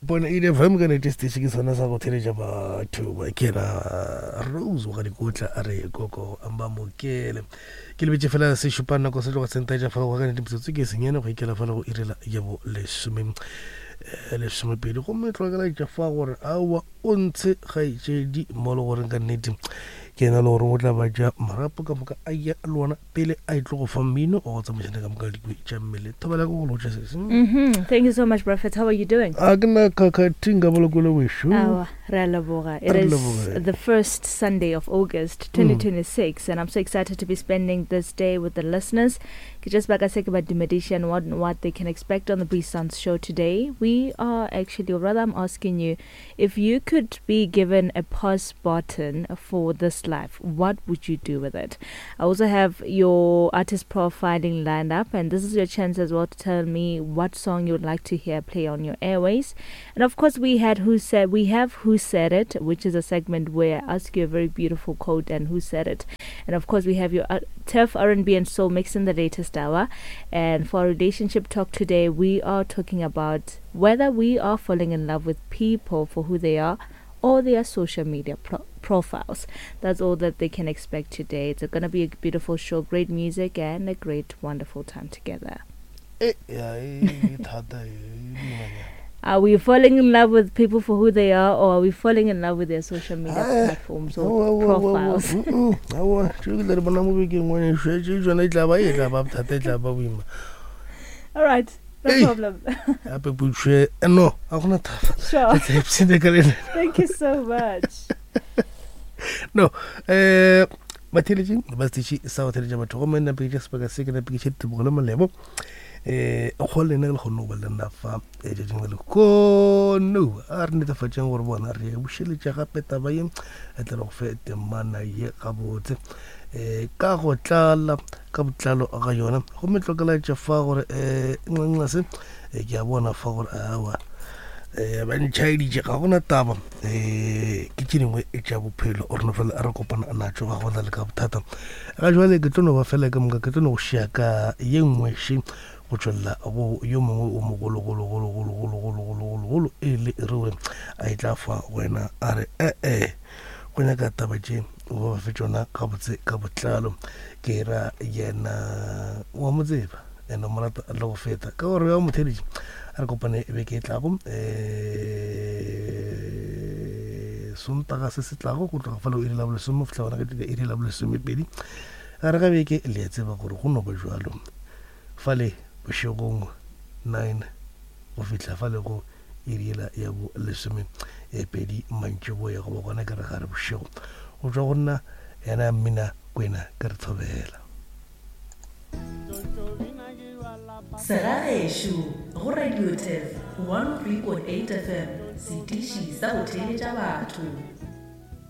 Bona ile FM ka nete station ke sona sa go theletša batho ba ke na Rose wa dikotla a re koko amba mokele ke lebetše fela se šupa nako se tloga sentaetša fa go ka nete metsotso ke senyane go ikela fela go irela ya bo lesome eh, lesomepedi gomme tlogela fa gore aowa o ntshe kgaetšedi mo le goreng ka nnete ke ena le gore o tla ba ja marapo ka moka a ya le ona pele a e tlo go fa mmino wa go tsamaišana ka moka dikwe tša mmele thobela ke go lotša sese mm-hmm. Thank you so much, Prophet. How are you doing? A ke na khakhathi nka bolokole wešo. Awa, re a leboga. It Re is leboge. the first Sunday of August 2026, and I'm so excited to be spending this day with the listeners. Ke just baka se ke ba dumediša and what, what they can expect on the Breeze Sounds show today. We are actually, or rather, I'm asking you, if you could be given a pause button for this life, what would you do with it? I also have your artist profiling lined up, and this is your chance as well to tell me what song you would like to hear play on your airways. And of course, we had Who Said we have Who Said It, which is a segment where I ask you a very beautiful quote and who said it. And of course, we have your Turf R&B and Soul mix in the latest hour. And for our relationship talk today, we are talking about whether we are falling in love with people for who they are or their social media profiles. That's all that they can expect today. It's going to be a beautiful show, great music, and a great, wonderful time together. E ya e thata e boimanyana. Are we falling in love with people for who they are, or are we falling in love with their social media Ah, platforms or Aowa, aowa, aowa, profiles? mm, mm, aowa tšeo ke tla di bona mo bekeng ngwaneso tše tsona e tla ba e tla ba bothata e tla ba boima All right, no Hey. problem. gape potšo e no ga gona thata Sure. Re tla ipshina ka lena Thank you so much. no um batheletši ba seteši sa go theletša batho gomme nna peketša sebaka se ke napeketša ditebogo le molebo um go lena le kgonne go ba le nna fa eh, tšatšing la lekono a re netefatšeng gore bona re bušeletša gape taba ye e tla re go fe temana ye gabotse um ka go tlala ka botlalo ga yona gomme tlokelaetša fa gore um nxa se eh, ke a bona fa gore awa um ba ntšhaeditše ga gona taba um ke tše dingwe tša bophelo o rena fela re kopana natšo ga gona le ka bothata ga jwale ke tlo no ba fela ka moka ke tlo no go šia ka ye nngwe še go tšwelela go yo mongwe o mogologologologologologologologolo e le ruri a e tla fa wena a re ee go nyaka taba tše o ba fe tšona gabotse ka botlalo ke ra yena wa mo tseba ene mo rata le go feta ka gore ya motheletši a re kopane beke e tlago um sontaga se se tlago go tloga fela o iri la bolesome go fihla gona ka iri la bolesomepedi gare ga beke le a tseba gore go no ba jalo fale bošegong 9 go fihla fale go iri yela ya bo lesome e pedi mantšiboya goba gona ke re gare bošego go tšwa go nna yena mmina kwena ke re thobela. Segagešo go Radio Turf 103.8 FM, setiši sa go theeletša batho.